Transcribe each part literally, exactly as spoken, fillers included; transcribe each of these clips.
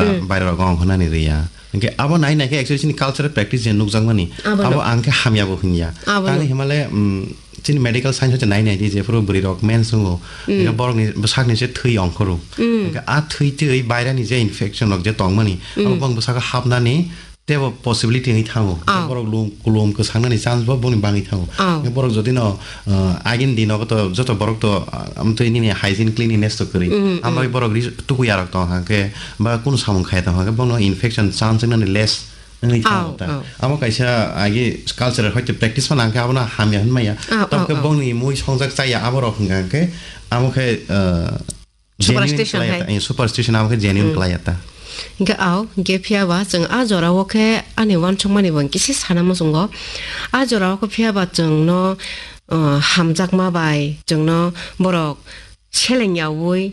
Hmm. Bairok ongkhornani riya. Hwnkhe abo nai nai khe actually chini cultural practice je nukjakmani, Abono. abo ang khe hamya bo hinya. Abono. Tani himale, mm, chini medical science hoite nai nai di, jephuru bwrwi rok mens wngo, Hmm. hwnkhe borokni bwsakni se thwi ongkhoro. Hmm. Hwnkhe a thwi twi bairani je infection rok je tongmani, abo Hmm. bong bwsako hapnani teibo possibility wngwi thango. Ah. Borok lum, kulum kwsangnani chance bo boni bangwi thango. Ah. Borok jodi no, uh, agini dino to joto borok to, uh, amtwi nini hygiene cleanliness to kwrwi. Mm, mm. Ambai borok ri-, tukuyarok tong kha khe ba kunu samung khaya tong kha khe bono infection chance wngnani less wngwi thango Ah, ta. ah. Amo kaisa agi cultural hoite practice phano hwnkhe abono hamya hwnmaya. Ah, Tamo ah, khe ah. bongni mui songjak chaya aborok hwnkha khe amo khe, uh, Superstition genuine hai. Khlai ya ta, eh, superstition abo khe genuine Hmm. khlai ya ta. Hingke au, hingke phiya ba chwng a jora o khe ani uansukmani bo kisi sana muchungo. A jora o khe phiya ba chwng no, uh, hamjakma bai chwng no borok seleng yaui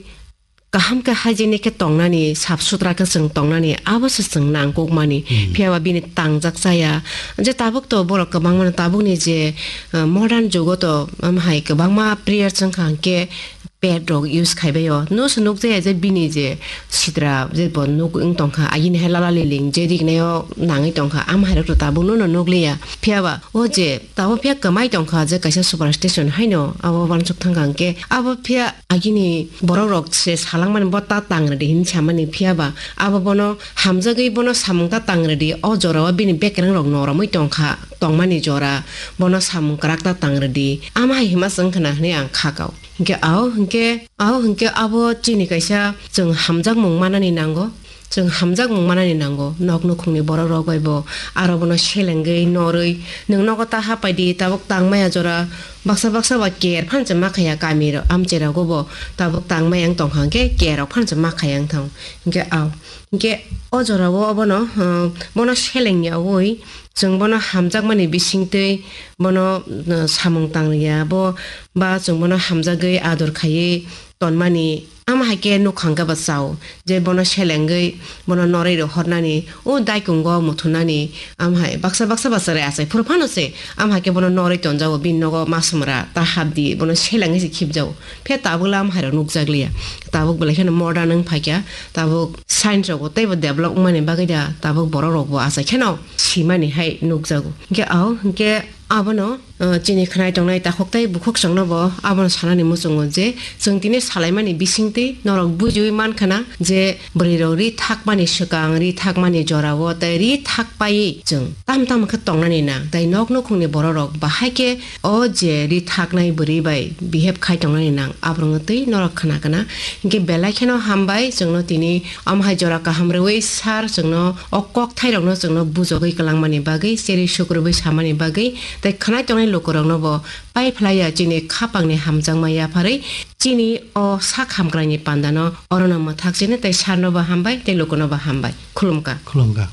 kaham khe hygienic khe tongnani, sap sutra khe chwng tongnani, abo se chwng nangkukmani. Hmm. Phiya ba bini tangjak chaya. Je tabuk to borok kwbangma no tabuk ni je, uh, modern jugo to, um, hai kwbangma prayer chwng kha hingke pad rok use khai bai o. No se nuk jaya je bini je sitra je bo nuk wng tong kha, agini hai lala liling je rignai o nangwi tong kha, am hai rok to tabuk no no nuk liya. Phiya ba o je tabuk phiya kwmai tong kha je kaisa superstition hai no abo uansuk thang kha hingke abo phiya agini borok rok se salang mani bo ta tang rwdi hin samani phiya ba abo bono hamjagwi bono samung ta tang rwdi o jora o bini bekereng rok noromwi tong kha tongmani jora bono samung kwrak ta tang rwdi ama hai hima chwng khna hwnwi ang kha kau. Hingke ao, hingke ao, hingke abo chini kaisa chwng hamjakmung manani nango. Chwng hamjakmung manani nango. Nok nukhungni borok rok bai bo aro bono selengwi, norwi, nwng nogo ta hapai di, tabuk tangmaya jora baksa baksa ba ker phan se ma khaya kami rok, amchai rogo bo tabuk tangmaya wng tong kha, hingke ker rok phan se ma khaya wng thang. Hingke ao, hingke o jora o obono, uh, bono seleng yaui, Chwng bono hamjakmani bisingtwi bono, uh, samung tang ya, bo ba chwng bono hamjagwi ador khaiwi tonmani, ama hai khe nukhang khe ba chao, je bono selengwi bono norwi rohornani, o daikungo muthunani, ama hai baksa baksa ba chwrai achai phuru phano se, ama hai khe bono norwi tonjago, bini nogo masumra ta hapdi, bono selengwi se khibjago. Phiya tabuk le ama hai rok nukjak liya, tabuk belai kheno modern wng phaikha, tabuk science rok bo teibo develop wngmani bagwi da, tabuk borok rok bo achai kheno simani hai nukjago. Hingke ao, hingke abono, uh, chini khnai tongnai takhuk tei bukhuk chwngno bo abono sanani muchungo je chwng tini salaimani bisingtwi norok bujiui mankha na je bwrwi rok ri thakmani swkang, ri thakmani jorao tei ri thak paiwi chwng tam tam khe tongnani nang tei nok nukhungni borok rok bahai khe o je ri thaknai bwrwi bai behave khai tongnani nang aborokno twi norok khna kana. Hingke belai kheno hambai chwngno tini Omo hai jora kaham rwui sir chwngno o kok thairokno chwngno bujogwi kwlangmani bagwi, cherwi sukrubwi samani bagwi tei khwnai tongnai lukurokno bo pai phlai ya chini khapangni hamjakma yapharwi chini o sak hamkraini pandano orono mwthak chini tei sirno bo hambai tei lukuno bo hambai. Khulumkha. Khulumkha.